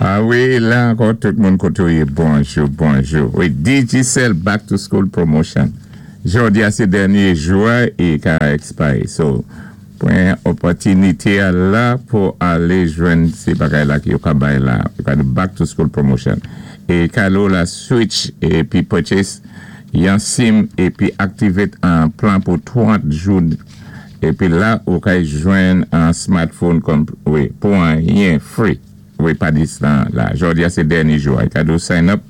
A wi, la ankò, tout moun koté ou yé, bonjou, bonjou. Wi, Digicel Back to School Promotion. Jòdi a sé dènyé jou a é ka expire. So, pwan opòtinité a la pou alé jwenn sé bagay la ki yo ka bay la. Yo ka di Back to School Promotion. É ka lò la switch épi purchase yon SIM épi activate an plan pou 30 jou épi la ou ka jwenn an smartphone kon wi, pou anyen, free. Wi, pa dis lan la. Jòdi a sé dènyé jou a. Ka do sign up.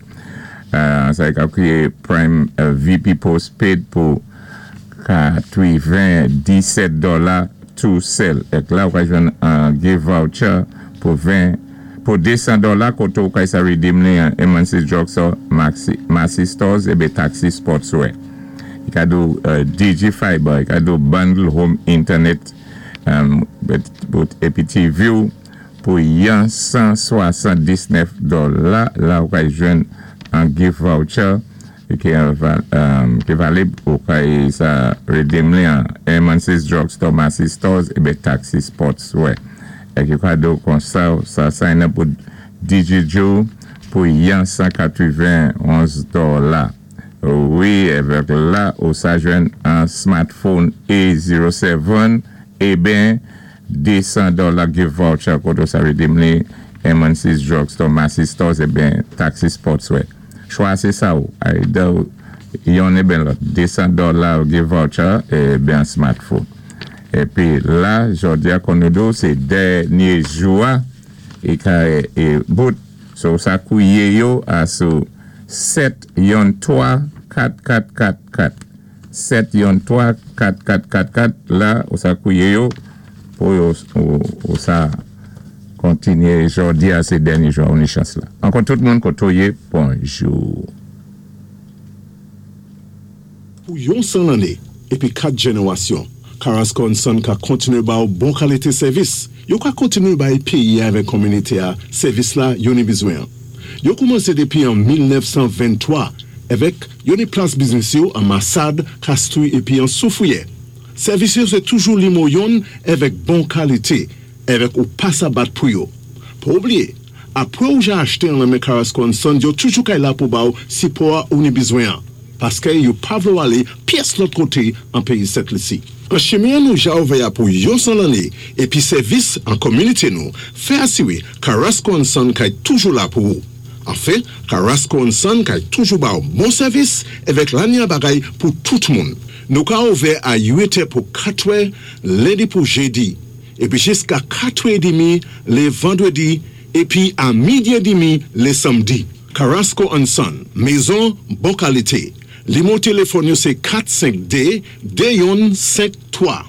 Sa ka kriyé Prime VP Postpaid pou 97 dola tou sèl. Èk la ou ka jwenn an gift voucher pou 20 pou 200 dola koté ou ka sa redeem li an Emancy Drugstore, Maxi, Maxi Stores ébé Taxi Sportswear. I ka do Digi Fiber, i ka do bundle home internet épi TV ou pou yon 179 dola. La ou ka jwenn an gift voucher ki valib, ou ka sa redeem li an Emancy's Drugstore, Maxi Stores ébé Taxi Sportswear. Èk yo ka do kon sa, sa sign up pou DigiJo pou yon 191 dola. Wi, èvèk la ou sa jwenn an smartphone A07 ébén 200 dola gift voucher koté ou sa redeem li Emancy's Drugstore, Maxi Stores ébén Taxi Sportswear. Chwa sé sa ou, either yonn ébén lòt, 200 dola gift voucher ébén an smartphone. Épi la, jòdi a kon nou di ou, sé dènyé jou a, é ka é bout, so sa kwiye yo a sou 7 yon 3 4 4 4 4 7 yon 3 4 4 4 4. La ou sa kwiye yo pou yo ou sa kontinyé. Jòdi a sé dènyé jou a, ou ni chans la. Ankò tout moun koté ou yé, bonjou. Pou yon 100 lanné épi 4 jénéwasyon, Carrasco and Son ka kontinyé ba ou bon kalité sèvis. Yo ka kontinyé bay péyi a avèk kominité a sèvis la yo ni bizwen an. Yo koumansé dépi an 1923 èvèk yo ni plas biznis yo an Masad, Castries épi an Soufrière. Sèvis yo sé toujou limo yonn èvèk bon kalité èvèk ou pa sa bat pou yo. Pa oubliyé, apwé ou ja achté an lan men Carrasco and Son, yo toujou kay la pou ba ou sipò a ou ni bizwen an, paskè yo pa vlé ou alé pyès lòt koté an péyi Sent Lisi. An chimen an nou ja ouvè a pou yon 100 lanné épi sèvis an kominité nou fè asiwé Carrasco and Son kay toujou la pou ou. Anfen, Carrasco and Son kay toujou ba ou bon sèvis èvèk lanya bagay pou tout moun. Nou ka ouvè a 8 è pou 4 è lendi pou jédi, épi jiska 4 è dimi lé vandwédi épi a midi é dimi lé sanmdi. Carrasco and Son, mézon bon kalité. Limo téléfòn yo sé 452 2153.